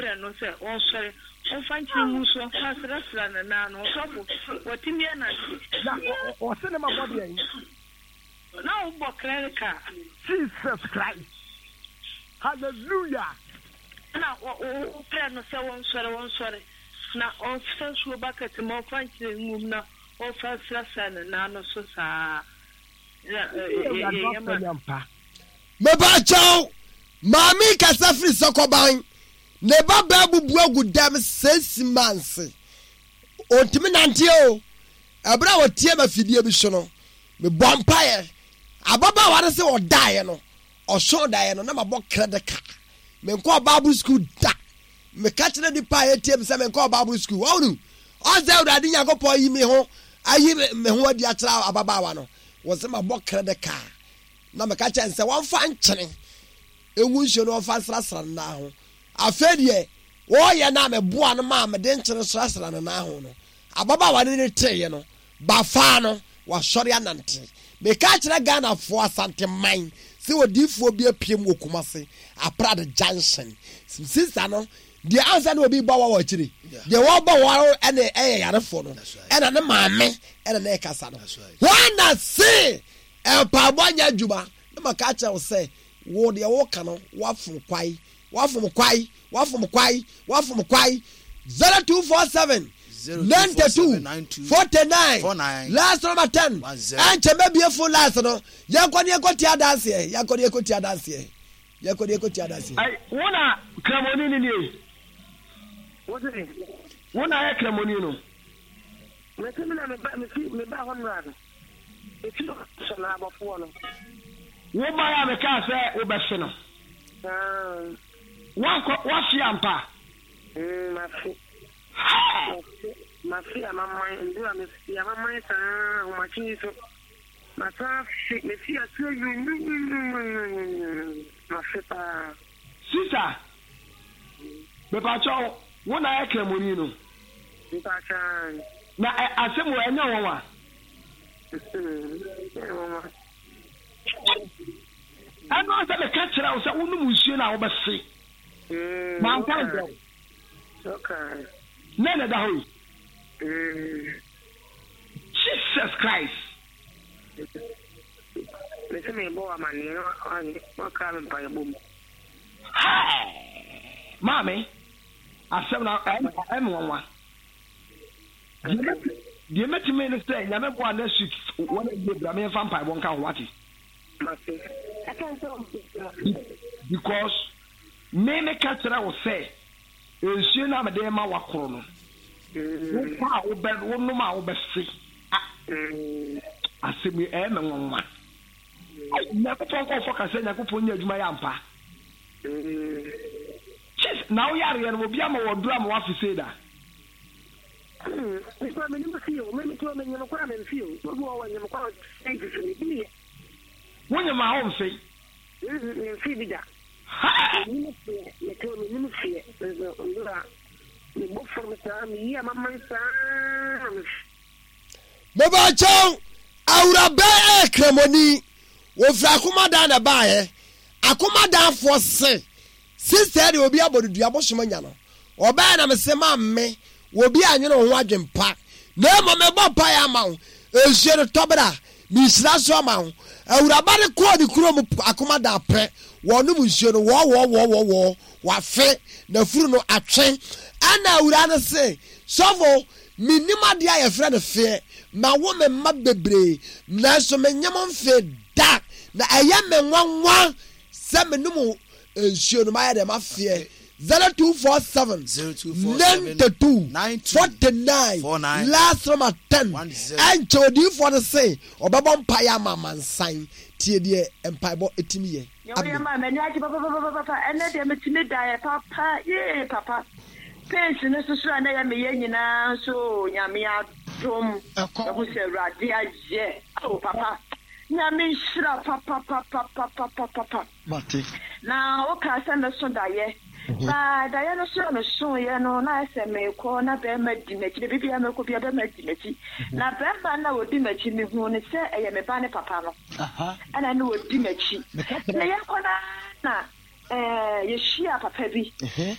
woprɛ no sɛ ɔnsɔre, ɔmfa nkyene ngu so, ɔmfa nsrasra ne nan no. Ɔsɔfo, watumi anante. Na ɔse ne ma bɔ deɛn? Na wobɔ clerical. Jesus Christ hallelujah. Ɛna woprɛ no sɛ ɔnsɔre, ɔnsɔre, na ɔmfa nsuo bucket ma ɔmfa nkyene ngu mu na ɔmfa nsrasra ne nan no so saa. Na ɛyɛ ma. Mepakyɛw, maame yi kasa firi Sɔkɔban. Ne ba baa bubu agu dɛm 6 months. Ɔntumi nante o. Ɛberɛ a ɔtie ma fidie bi so no, mebɔ mpaeɛ. Ababaawa no sɛ ɔdaeɛ no, ɔsɔn daeɛ no na mabɔ credit card. Menkɔɔ Bible school da. Meka kyerɛ nipa a ɛtie me sɛ menkɔɔ Bible school. Ɔhunu, ɔsɛ Awurade Nyankopɔn yi me ho, ayi me ho adi akyerɛ ababaawa no. Wɔsɛ mabɔ credit card. Na meka kyerɛ no sɛ wɔmfa nkyene ngu nsuo no wɔmfa nsrasra ne nan ho. Afei deɛ wɔreyɛ no a meboa no maa mede nkyene srasra ne nan ho no, ababaawa no ne teeɛ no, bafaa no, wasɔre anante. Meka kyerɛ Ghanafoɔ Asanteman sɛ odiyifoɔ bi apiem wɔ Kumase, Aprade Junction. Sista no, deɛ ansa na obi bɔ wa wɔ akyire, deɛ wɔbɔ wa ɛne ɛyɛ yarefoɔ no, ɛna ne maame ɛna na ɛkasa no. Wɔn na se Mpaebɔ nyɛ adwuma na maka akyerɛ wo sɛ wo deɛ woka no woafom kwae, woafom kwae, woafom kwae, woafom kwae. 0247 92 49 last number 10 ɛnkyɛ mɛbie phone lines no yɛnkɔ ne yɛnkɔ tia adanseɛ yɛnkɔ ne yɛnkɔ tia adanseɛ yɛnkɔ ne yɛnkɔ tia adanseɛ. Ai, wo na kramoni no nie? Wo na ayɛ kramoni no? Mese me na meba mefi meba hɔ nnora no. Efi hɔ sɔ no abɔfoɔ no. Wo bae a mekaa sɛ wobɛfe no. Woankɔ, woafe ampa? Mm, mafe. Hɛɛ! Mafe, mafe amaman, ndura mefe amaman saa, ahomakye yi so. Masan afe, mefi aseɛ nwunwunwunwunwunwunwun, mafe paa. Sista, mepakyɛw, wo na ayɛ Kramoni no? Mpakyɛw, aane. Na ɛ, asɛm wɔ, ɛnyɛ nwanwa? Ɛnyɛ nwanwa. Ɛno ara sɛ meka kyerɛ wo sɛ wonom nsuo no a wobɛfe. Manka ankyerɛ wo? Nɛ na ɛda hɔ yi. Jesus Christ. Mese mebɔ wo amaneɛ na woakra me mpaebɔ mu. Hey! Maame, asɛm no ɛyɛ me nwanwa. Deɛ mɛtumi ne sɛ Nyame boa next week Wednesday bra me yɛmfa mpaebɔ nka ho wate. Because me meka kyerɛ wo sɛ nsuo no a mede ma wakoro no wofa a wobɛ wonom a wobɛfe asɛm yi ɛyɛ me nwanwa. Nyankopɔn nkɔɔfɔ ka sɛ Nyankopɔn nyɛ adwuma yɛ ampa. Chis na woyareɛ no obi ama wɔ duro ama wafe sei da. Nipa mi nim fi o, mi mi to mi nyim kora mi nfi o, obi wɔ wɔ nyim kora ɔsi fi mi bi yɛ. Wo nyim a wo nfe? Mi nfi bi da. Mi nim fiɛ, mi to mi nim fiɛ, nso ndura mi bɔ fam saa, mi yi amaman saa mi. Mebakyɛw, awuraba ɛyɛ kramoni, wɔfiri akomadan na ɛbaeɛ. Akomadanfoɔ se, sister deɛ obi abɔ no dua bosom anya no. Ɔbaeɛ na mese maame, obi anwene wo ho adwen pa, na mmom mebɔ mpaeɛ ama wo, nsuo no tɔ bra, mehyira so ama wo. Awuraba no kɔɔ ne kurom akomadan pɛ, wɔnom nsuo no, wɔɔwɔɔwɔɔwɔɔ, wafe, n'afuru no atwe. Ɛna awuraa no se, sɔfo, Mennim adeɛ a yɛfrɛ no feɛ. Mawo me mma bebree, nanso menyem mfee da. Na ɛyɛ me nwanwa sɛ menom nsuo no, mayɛ dɛ mafeɛ. 0247 92 49 last number 10. Ɛnkyɛ odiyifoɔ no se ɔbɛbɔ mpaeɛ ama amansan. Tie deɛ mpaebɔ tumi yɛ. Nea woyɛ maa m'ani agye papapapapa. Ɛnnɛ deɛ metumi daeɛ papa yee papa. Pains no nso so a na ɛyɛ meyɛ nyinaa nso oo Nyame adom. Mahu sɛ Awurade ayɛ. Oh papa Nyame nhyira papapapapapapa. Na wokaa sɛ mɛso daeɛ. Ba daeɛ no so a mesoeɛ no na ayɛ sɛ merekɔ na bɛrima di m'akyi. Baabi biara mɛkɔ biara bɛrima di m'akyi. Na bɛrima no a ɔdi m'akyi mehuu no sɛ ɛyɛ me ba ne papa no. Ɛna na ɔdi m'akyi. Na yɛkɔ no ara na. Ɛɛ, yɛhyiaa papa bi,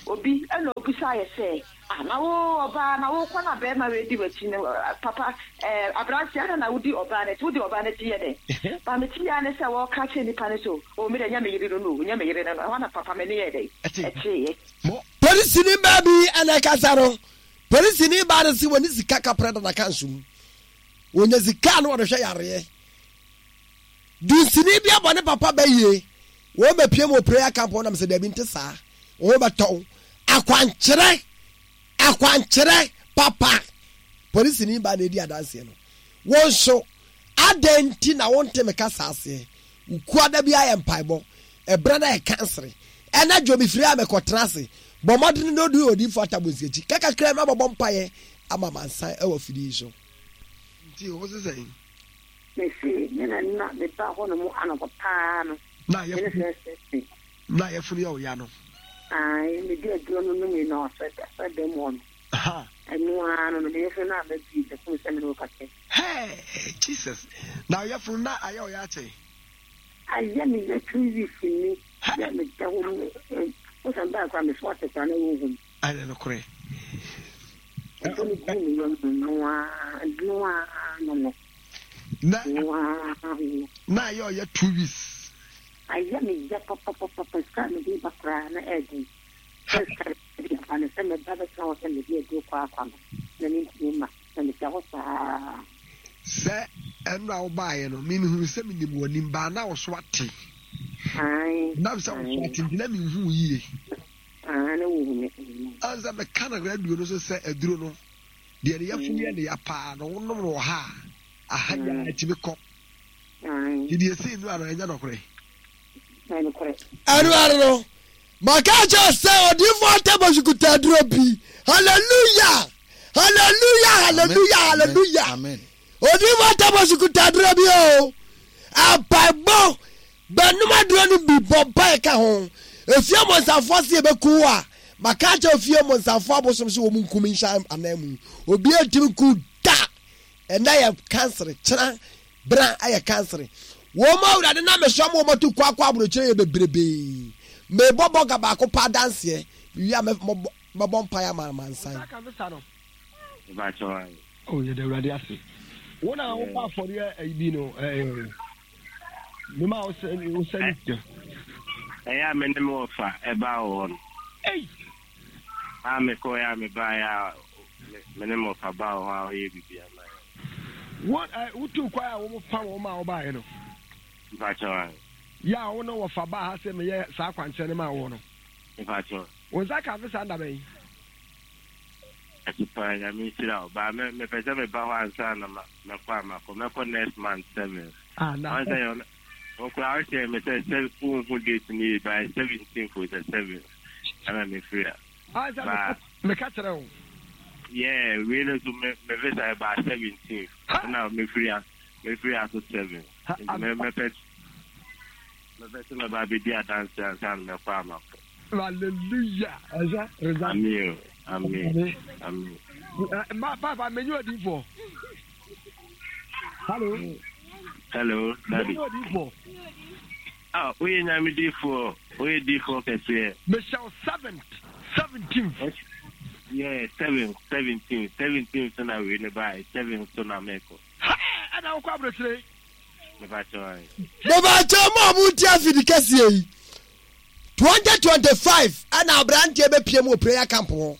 obi, ɛna ɔbisaa yɛ sɛ, Ah, na wo ɔbaa, na wokɔ na barima wei di w'akyi no, papa, ɛɛ, aberanteɛ, adɛn na wodi ɔbaa no akyi? Wodi ɔbaa no akyi yɛ dɛn? Ba mete yi ara ne sɛ wɔreka akyerɛ nnipa no sɛ, Oh, me deɛ, ɛnyɛ me yere no no o, ɛnyɛ me yere no no. Ɛhɔ na papa m'ani yɛɛ dɛn? Ɛteeɛ. Polisini baa bi na ɛkasa no. Polisini baa no se wɔne sika kaprɛ da n'akanso mu. Wɔnya sika a na wɔde hwɛ yareɛ. Dunsini bi abɔ ne papa bɛ yie. Wɔn bɛpie mu wɔ prayer camp hɔ nam sɛ dabi nte saa. Wɔn bɛtɔ wo. Akwankyerɛ, akwankyerɛ papa. Polisini baa na edi adanseɛ no. Wo nso, adɛn nti na wonte me kasa aseɛ? Wo kuada biara yɛ mpaebɔ. Ɛberɛ no ayɛ kansere. Ɛna dwo mefiri a mekɔtena ase. Bɔ mmɔden na ɔdu odiyifoɔ Atabonsi akyi. Ka kakra ma bɔbɔ mpaeɛ ama amansan wɔ afidie yi so. Nti wo se sɛn? Mese me na na meba hɔ nom anɔpa paa no. Na Me ne yɛfunu first person. na yɛfunu yɛ wo ya no. Ae, mede aduro no nomee na ɔsɛ asɔre dan mu hɔ no. Aha. Ɛno ara no no, me yɛfunu no amma bio, mehuu sɛ me ne wo kasa yi. Hey, Jesus. Na wo yɛfunu na ayɛ wo ya akyɛ? Ayɛ me ya 2 weeks ni, yɛ meda hɔ mu, wo sɛ mbaa koraa me so ate koraa na wonhu me. Ayɛ nokorɛ. Aduro no guu me yam no, ɛno ara, ɛno ara no no. Na Ɛno ara no no. na ayɛ ɔyɛ 2 weeks. Ayɛ me ya papapapa, sika a mede ba koraa na ɛyɛ den. Sɛ sika a mede ba no, sɛ mɛba bɛtena hɔ sɛ mede aduro kɔ akɔ no, na mentumi mma, na meda hɔ saa. Sɛ ɛno a wobaeɛ no, me mehunu sɛ menim w'anim, baa na wo so ate. Ae, Nam sɛ wo so ae. ate nti na menhu wo yie. Ae, na wohu me. Ansa meka no radio no so sɛ aduro no, deɛ ne yafunu yɛ ne ya paa no, wonom no wɔ ha a, aha yi ara ɛtumi kɔ. Nti deɛ ɛsii nnora no, ɛnyɛ nɔkorɛ. Ɛno ara no, maka kyerɛ sɛ odiyifoɔ Atabɔsu kuta aduro bi. Hallelujah! Hallelujah! Hallelujah! Hallelujah! Odiyifoɔ Atabɔsu kuta aduro bi o. Ampaebɔ bɛnom aduro no bi bɔ mpae ka ho. Efie mmɔnsamfoɔ se yɛbɛku wo a, maka akyerɛ ofie mmɔnsamfoɔ abosom sɛ wɔn nkum nhyɛ anan mu. Obiara ntumi nku da. Ɛnɛ yɛ kansere, kyena bra yɛ kansere. Wɔn a Awurade nam me so ama wɔn atu kɔ akɔ aburokyire yɛ bebrebee. Mebɔ bɔga baako pa adanseɛ, mewie a mɛbɔ mpaeɛ ama amansan. Oh, yɛda Awurade ase. Wo na wobɔ afɔreɛ ayi bi no, ɛɛ, mema wo sɛ wo sɛ ne sika. Ɛyɛ a me ne me wɔfa ɛbaa wɔ hɔ no. Ei! A mekɔɛ a mebaeɛ a me ne me wɔfa baa wɔ hɔ a ɔyɛ biribi ama yɛn. Wo ɛ wotuu kwan a wɔn fa wɔn ma wobaeɛ no. Mpakyɛw ae. Yɛ a wo ne wɔfa baa ha sɛ meyɛ saa akwankyerɛ no maa woɔ no. Mpakyɛw. Wo nsa kaa visa nda bɛn? Ase paa Nyame nhyira wo. Ba me mepɛ sɛ meba hɔ ansa na ma mɛkɔ a makɔ. Mɛkɔ next month 7th. Ah na. Ɔn sɛ yɛ wo koraa wo hyɛɛ me sɛ sɛ wonhu date no yie by 17th o sɛ 7th ɛna me firi a. Ah sɛ Ba meka kyerɛ wo. Yeah wei no nso me me visa ɛbaa 17th ɛna me firi a me firi aso 7th. Nti me mɛpɛ mɛpɛ sɛ mɛba abɛdi adanse ansa na mɛkɔ a makɔ. Hallelujah. Ɛsɛ result. Amen. Amen. Amen. Ma papa menyi odiifo. Hello. Hello, daddy. Menyi odiifo. Ah, woyɛ nyame difoɔ, woyɛ difoɔ kɛseɛ. Mehyɛ wo seventh, 17th. Yeah, seventh, 17th, 17th so na wei ne bae, seventh so na mɛkɔ. Hey, ɛna wokɔ aburokyire. Mebakyɛw mo a mo ti afidi kɛseɛ yi. 2025 ɛna aberanteɛ bɛpie mu wɔ prayer camp hɔ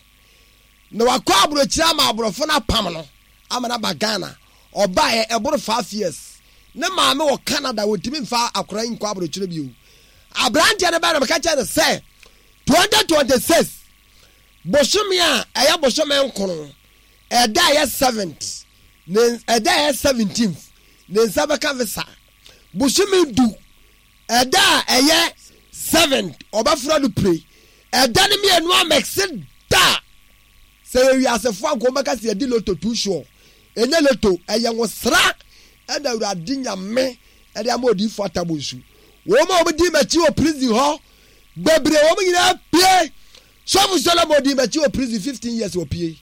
na wakɔ aburokyire ama aborɔfo no apam no ama no aba Ghana. Ɔbaeɛ ɛboro 5 years. Ne maame wɔ Canada, wɔntumi mfa akora yi nkɔ aburokyire bio. Aberanteɛ no bɛn na meka kyerɛ no sɛ 2026 bosome a ɛyɛ bosome nkono ɛda a ɛyɛ 7th ne ɛda a ɛyɛ 17th ne nsa bɛka visa. Bosome du ɛda a ɛyɛ 7th ɔbɛfora no pire. Ɛda no mmienu amɛkse da. Sɛ yɛ wiasefoɔ anka wɔbɛka sɛ yɛdi loto too sure. Ɛnyɛ loto, ɛyɛ nwosra ɛna Awurade Nyame ɛde ama odiyifoɔ Atabonsu. Wɔn a wɔdi m'akyi wɔ prison hɔ bebree, wɔn nyinaa pie. Sɔfo Solomon dii m'akyi wɔ prison 15 years wɔpie.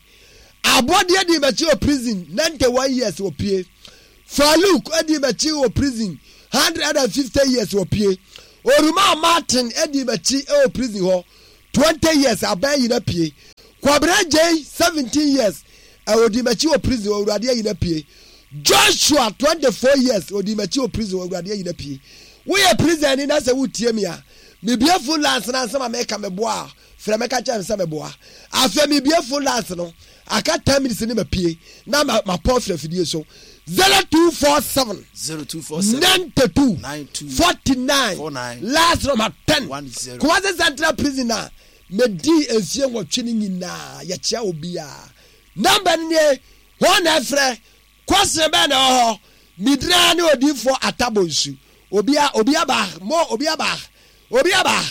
Abɔdeɛ dii m'akyi wɔ prison 91 years wɔpie. Farouk dii m'akyi wɔ prison 150 years wɔpie. Oruma Martin adi m'akyi wɔ prison hɔ 20 years aban ayi no apue. Kwabena Agyei 17 years ɔdi m'akyi wɔ prison hɔ Awurade ayi no apue. Joshua 24 years ɔdi m'akyi wɔ prison hɔ Awurade ayi no apue. Woyɛ prison ni na sɛ wotie me a, mebue phone lines no ansa ma meka meboa a, frɛ me ka kyerɛ me sɛ meboa. Afei mebue phone lines no, aka 10 minutes ne mapue na mapɔn afiri afidie so. 0247 0247 92 92 49 49 last number 10 10. Kumasi Central Prison a medii mfie nwɔtwe no nyinaa yɛkyea obiara. Number no nie, hwan na ɛfrɛ? Question bɛn na ɛwɔ hɔ? Medin ara ne odiyifoɔ Atta Bonsu. Obia, obi aba, mo, obi aba, obi aba.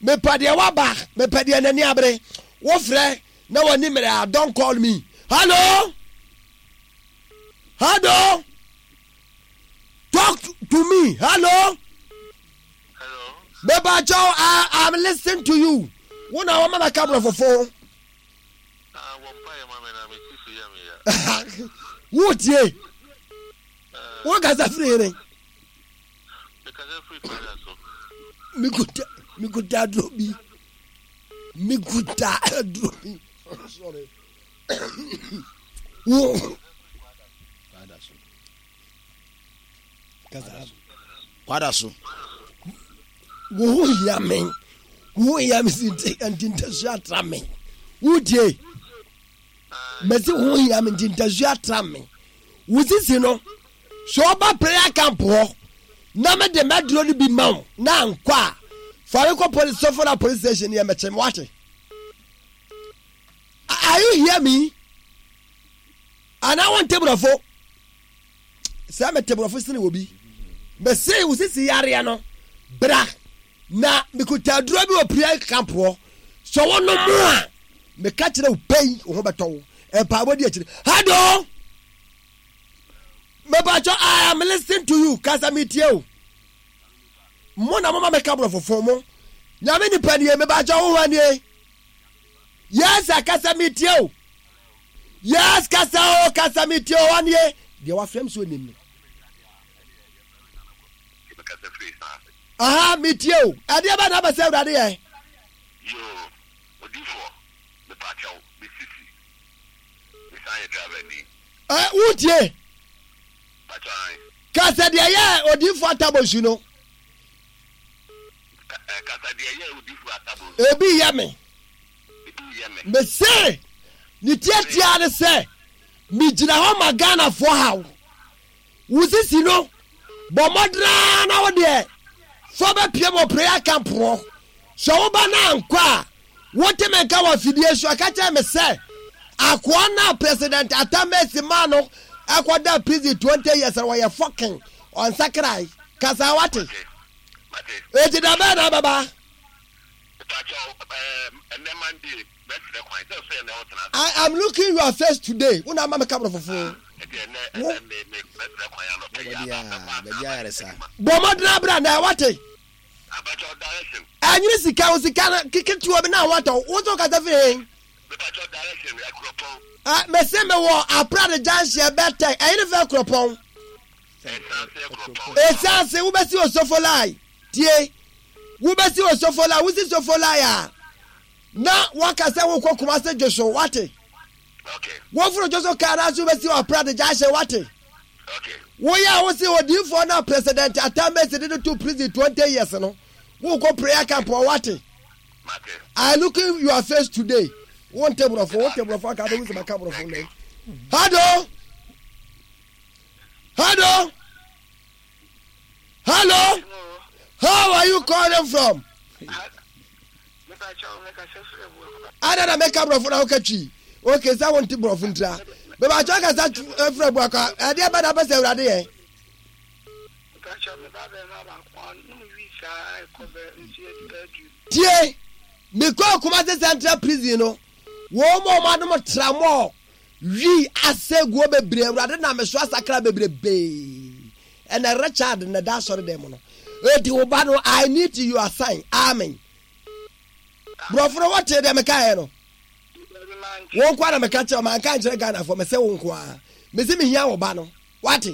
Mepɛ deɛ waba, mepɛ deɛ n'ani abere. Wofrɛ na w'ani mmere a, don't call me. Hello? Hello? Talk to me. Hello? Hello. Mepakyɛw, I, I'm listening to you. Wo na wɔma mɛka borɔfofo. Ah, wɔ mpa yɛ ma me na me sisi yɛ me ya. Wotie? Wo kasa firi hene? Me kasa firi kwada so. Mikuta, mikuta aduro bi. Mikuta aduro bi. Sorry. Wo. Kwada so. Kasa. Kwada so. Wo ho hia me. Wo ho hia me si nti nti ntasu atra me. Wotie? Mesi wo ho hia me nti ntasu atra me. Wo sisi no, sɛ ɔba prayer camp hɔ na mede mɛduro no bi ma wo na ankɔ a, fa me kɔ police sɔfo na police station yɛ mɛkyɛ me wate. Are you hear me? Anaa wonte borɔfo? Sɛ mete borɔfo sene wɔ bi. Mese wo sisi yareɛ no, bra na mekuta aduro bi wɔ prayer camp hɔ. Sɛ wo nom a, meka kyerɛ wo pɛi, wo ho bɛtɔ wo. Mpaebɔ di akyire. Hello! Mepakyɛ, I am listening to you. Kasa metie o. Mo na moma meka borɔfo fo mo. Nyame nipa nie, mepakyɛ wo hɔ nie. Yes, akasa metie o. Yes, kasa o, kasa metie o, ɔnie. Deɛ wafrɛ m so onim no. Aha, metie o. Ɛdeɛ bɛ na abɛsɛ awurade yɛ. Yoo, odifoɔ, mepaakyɛw, me sisi, mesan yɛ driver ni. Ɛ, wotie? Pakyɛ ae. Kasa deɛ yɛ odifoɔ atabonsu no. Kasa deɛ yɛ odifoɔ atabonsu. Ebi yɛ me. Ebi yɛ me. Mese, ne tiatia ne sɛ, megyina hɔ ma Ghanafoɔ haw. Wo sisi no, bɔ mmɔden ara na wo deɛ fa bɛpiem wɔ prayer camp hɔ. Sɛ woba na ankɔ a, wote me nka wɔ afidie so a, ka kyerɛ me sɛ akoa no a President Atta Mills maa no kɔdaa prison 20 years no, ɔyɛ fucking ɔnsakrae. Kasa wate? Enti da bɛn na abɛba? I am looking your face today. Wo na ama me kabro fofo. Wo. Bɔ mmɔden abra na wate. Ɛnyere sika wo sika no ketewa bi na watɔ. Wo nso kasa firi he? Mese mewɔ Aprade junction bɛtɛ. Ɛyere fɛ kuropɔn. Esaase wobɛsi Osofolai. Tie. Wobɛsi Osofolai. Wosi Sofolai a, na waka sɛ wokɔ Kumase Dwoso. Wate? Woforo Dwoso kaa no ase wobɛsi Ɔprade Junction. Wate? Woyɛ a wose odiyifoɔ no a President Atta Mills de no to prison 20 years no, wokɔ prayer camp hɔ. Wate? I looking your face today. Wonte borɔfo, wote borɔfo aka bɛhu sɛ maka borɔfo nnɛ. Hello? Hello? Hello? How are you calling from? Ada na meka borɔfo na woka twi. Okay, sɛ wonte borɔfo ntira. Mebakyɛ kasa firi abuakwa. Ɛdeɛ bɛ na bɛ sɛ awurade yɛ. Tie, mekɔɔ Kumasi Central Prison no, wɔn mu a wɔn anom tramɔɔ Wi asɛ guo bebree awurade nam me so asakra bebrebee ɛnɛ Richard na da asɔre dɛm mu no eti wo ba no I need your sign amen borɔfo no wɔte deɛ mekaeɛ no wo nkoa na meka kyerɛ manka nkyerɛ Ghanafoɔ mesɛ wo nkoa mese mehia wo ba no wate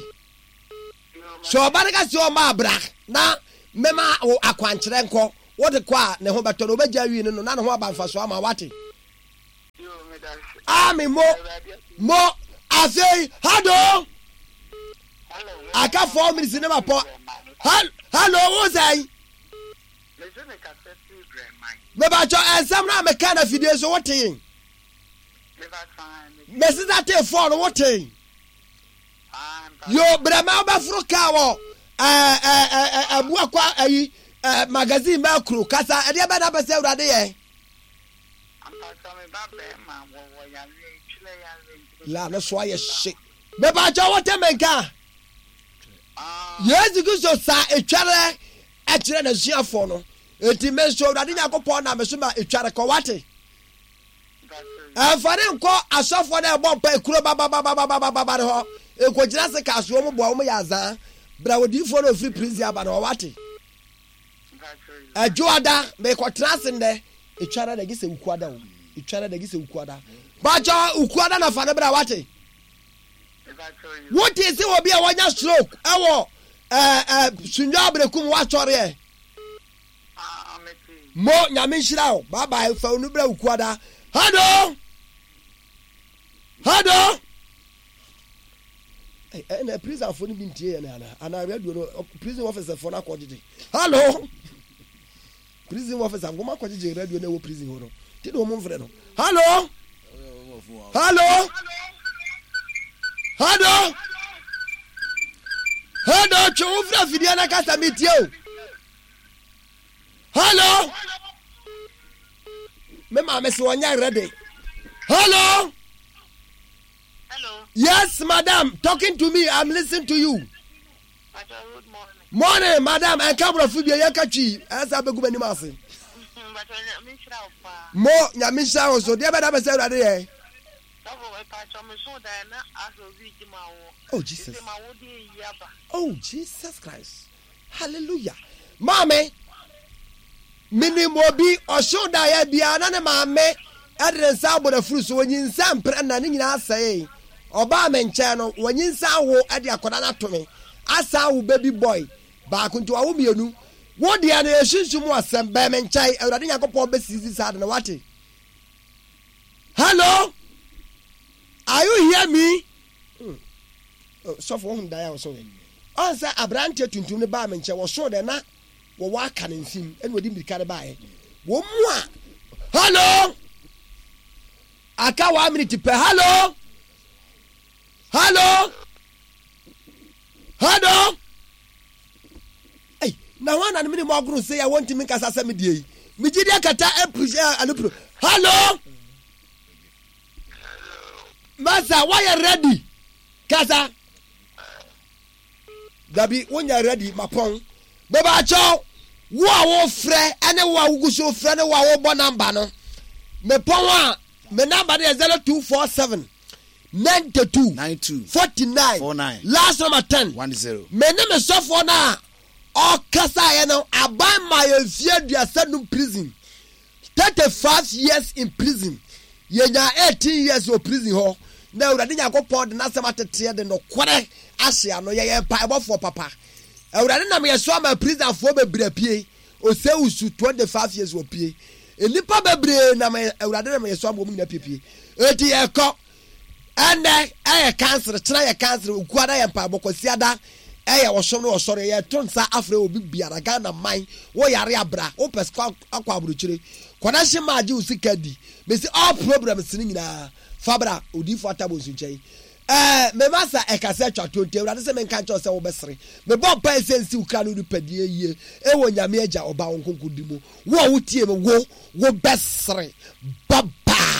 sɛ ɔba no ka sɛ ɔma abra na. Mɛma wo akwankyerɛ nkɔ. Wode kɔ a, ne ho bɛtɔ no, ɔbɛgya wii no no, na ne ho aba mfasoɔ ama wo, wate? Amen mo mo afei hado aka 4 minutes ne ma pɔ hello wo sɛn mebakyɛ ɛnsɛm no a meka na fidie so wotee mesesa tee fɔɔ no wotee Yo brɛma wobɛforo kaa wɔ abuakwa ayi magazine bɛɛ kuro kasa ɛdeɛ bɛ na bɛ sɛ awurade yɛ. La no so ayɛ hye. Mebakyɛ wote me nka. Yesu Kristo saa etwarɛ ɛkyerɛ n'asuafoɔ no. Eti me nso Awurade Nyankopɔn na me so ma etwarɛ kɔ wate. Ɛmfa ne nkɔ asɔfoɔ no a ɛbɔ mpa ekuro bababababababa no hɔ. Nkɔgyina se kaa so wɔn boa wɔn yɛ azaa. Bra odiyifoɔ no ofiri prison aba no hɔ wate. Ɛdwoada mekɔtena ase nnɛ. Etwara da gye sɛ ukuada o. Etwara da gye sɛ ukuada. Bakyɛ ukuada na fa no bra wate. Wote sɛ obi a wanya stroke ɛwɔ ɛɛ ɛɛ Sunyɔ Aberekum wasɔreɛ. Mo nyame nhyira wo. Bye bye fa onu bra ukuada. Hello. Hello. Ɛna prison fo no bi ntie yɛ ana ana radio no prison officer fo no akɔgyegye. Hello. Prison officer wɔn akɔgyegye radio no ɛwɔ prison hɔ no. Ti na wɔn mfrɛ no. Hello. Hello. Hello. Hello. Twe wo fira fidie na kasa mi tie o. Hello. Me maame sɛ ɔnyɛ ready. Hello. Hello. Yes, madam. Talking to me. I'm listening to you. Good morning. Morning, madam. Ɛnka borɔfo bi ɛyɛ ka twi. Ɛsɛ abɛgu m'anim ase. Mo nyame nhyira wo so. Deɛ bɛda bɛ sɛ awurade yɛ. Oh Jesus. Oh Jesus Christ. Hallelujah. Maame, menim obi ɔhyew daeɛ biara na ne maame ɛde ne nsa abɔ n'afuru so wɔnyinsa mprɛ na ne nyinaa sɛee. Ɔbaa me nkyɛn no wɔnyinsa awo ɛde akwadaa no ato me asa awo baby boy baako nti wawo mmienu. Wo deɛ no yɛsunsum mu asɛm bɛn me nkyɛn Awurade Nyankopɔn bɛsisi saa de no wate. Hello? Are you hear me? Hmm. Oh, sɔfo wohu daeɛ a wɔso yɛ ɔn sɛ aberanteɛ tuntum no baa me nkyɛn wɔso dɛ na wɔwɔ aka ne nsim ɛna wɔde mmirika no baeɛ wɔn mu a hello aka one minute pɛ hello hello hello Ei, na hwan na ne mene mu agoro sɛ yɛ wɔntumi nkasa sɛ me deɛ yi megye di akata apiri alupro hello Masa woayɛ ready kasa dabi wonyɛ ready mapɔn bɛbaakyɛw wo a wofrɛ ɛne wo a wogu so frɛ ne wo a wobɔ namba no mepɔn a me namba no yɛ 0247 92 92 49 49 last number 10 10 me ne me sɔfoɔ no a ɔkasaeɛ no aban ma yɛ mfie 35 prison 35 years in prison yɛnya 18 years wɔ prison hɔ na awurade nyankopɔn de n'asɛm ateteɛ de nokorɛ ahye ano yɛyɛ mpaebɔfoɔ papa awurade nam yɛ so ama prisonfoɔ bebree apue osewusu 25 years wɔ pie nnipa bebree nam awurade nam yɛ so ama wɔn nyinaa piepie eti yɛkɔ ɛnɛ ɛyɛ kansere kyena yɛ kansere okuada yɛ mpaebɔ kwasiada ɛyɛ ɔsom ne ɔsɔre yɛto nsa afrɛ obi biara Ghana man wo yare abra wo pɛ sɛ akɔ aburokyire connection ma agye wo sika di mesi all problems ne nyinaa fa bra odiifo atabo nso nkyɛn ɛɛ mema sa ɛkasa atwa to nti awurade sɛ menka nkyɛw sɛ wobɛsere mebɔ mpae sɛ nsi wo kra ne wo nipadua yie ɛwɔ nyame agya ɔba wo nkonko di mu wo a wotie me wo wobɛsere bye bye.